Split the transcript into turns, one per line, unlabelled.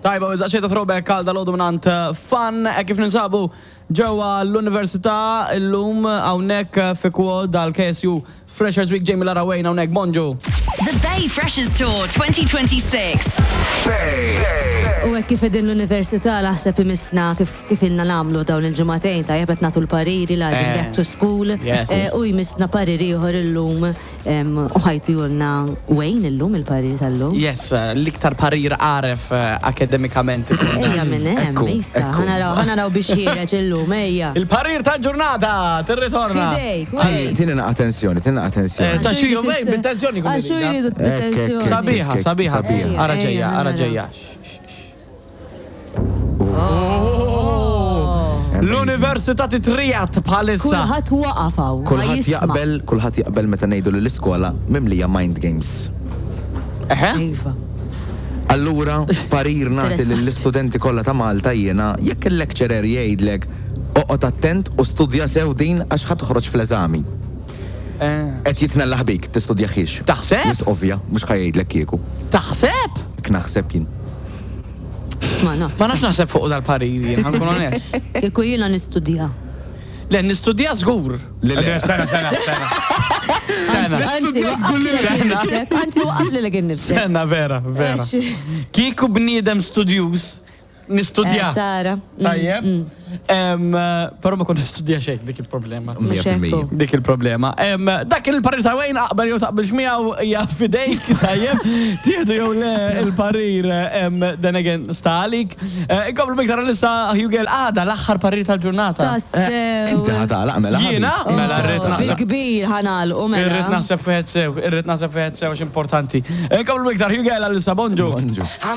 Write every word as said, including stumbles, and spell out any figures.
Tajba, u xejta throwback għal dal-għodu mingħand Fun, e kif ninsabu ġewwa l-Università illum hawnhekk fi quad dal-K S U Freshers Week. Jamie Lara Wayne hawnhekk, bonġu.
The Bay Freshers Tour twenty twenty-six.
U hekk kif qegħdin l-università, naħseb imissna kif kif ilna nagħmlu dawn il-ġimagħtejn, tajjeb, qed nagħtu l-pariri la
Eh.
back to school.
Yes.
Eh, U jmissna pariri ieħor illum em, u ħa jtihulna Wayne illum il-pariri tal-lum.
Yes, l-iktar parir għaref eh, akademikament.
Ejja minn hemm,
Ekku,
issa,
ekku.
ħa naraw ħa naraw biex ħiereġ illum, ejja.
Il-parir tal-ġurnata, tirritorna.
Fidejk,
Tini
Wayne.
tini naqa attenzjoni, tini naqa attenzjoni.
Eh, ta' xi jumejn, bit-tensjoni kun
Għaxu
irida.
jridu
Ekk, ekk,
bit-tensjoni.
ekk.
Sabiħa,
Ekk,
sabiħa.
sabiħa.
Ara
Ejja,
ġejja, ara
ħa naraw.
ġejja. Oh. L-Università titrijat bħalissa.
Kulħadd waqaf hawn.
Kulħadd
jisma'.
jaqbel, kulħadd jaqbel meta ngħidu li l-iskola mimlija mind games.
Eħe?
Iva.
Allura, parir nagħti
Interessanti.
lill-istudenti kollha ta' Malta jiena, jekk il-lecturer jgħidlek oqgħod attent u studja sew din għax ħa toħroġ fl-eżami.
Eh.
Qed jitnellaħ bik, tistudjaħiex.
Taħseb?
Wisq ovvja, mhux ħa jgħidlek kieku.
Taħseb?
Hekk naħseb jien.
Ma nafx.
Ma nafx naħseb fuq dal-parir, jien, ħa nkun onest.
Kieku jiena nistudja.
Le, nistudja żgur.
Le, le.
Sena, sena, sena. Sena.
Anzi, waqaf lilek innifsek. Anzi, waqaf lilek innifsek.
Sena, vera, vera.
Għax-
Kieku bniedem studjuż, nistudja.
Eh, Tara. Mm,
Tajjeb.
mm.
Em, eh, Però ma kont nistudja xejn, dik il-problema.
Mija fil-mija.
ekku.
Dik il-problema. Em, Dak il-parir ta' Wayne, aqbel jew taqbilx miegħu, hija fidejk, tajjeb. Tieħdu jew le il-parir, em, then again sta għalik. Eh, Inkomplu biktar lissa Hugel għada l-aħħar parir tal-ġurnata.
Tassew.
Inti ħa tagħlaq mela.
Jiena?
ħabib.
Mela rrid naħseb.
Bil-kbir ħa nagħlqu mela.
Irrid naħseb fiħet sew, irrid naħseb fiħet sew għax importanti. Inkomplu biktar Hugel għal-lissa, bonġu.
Bonġu.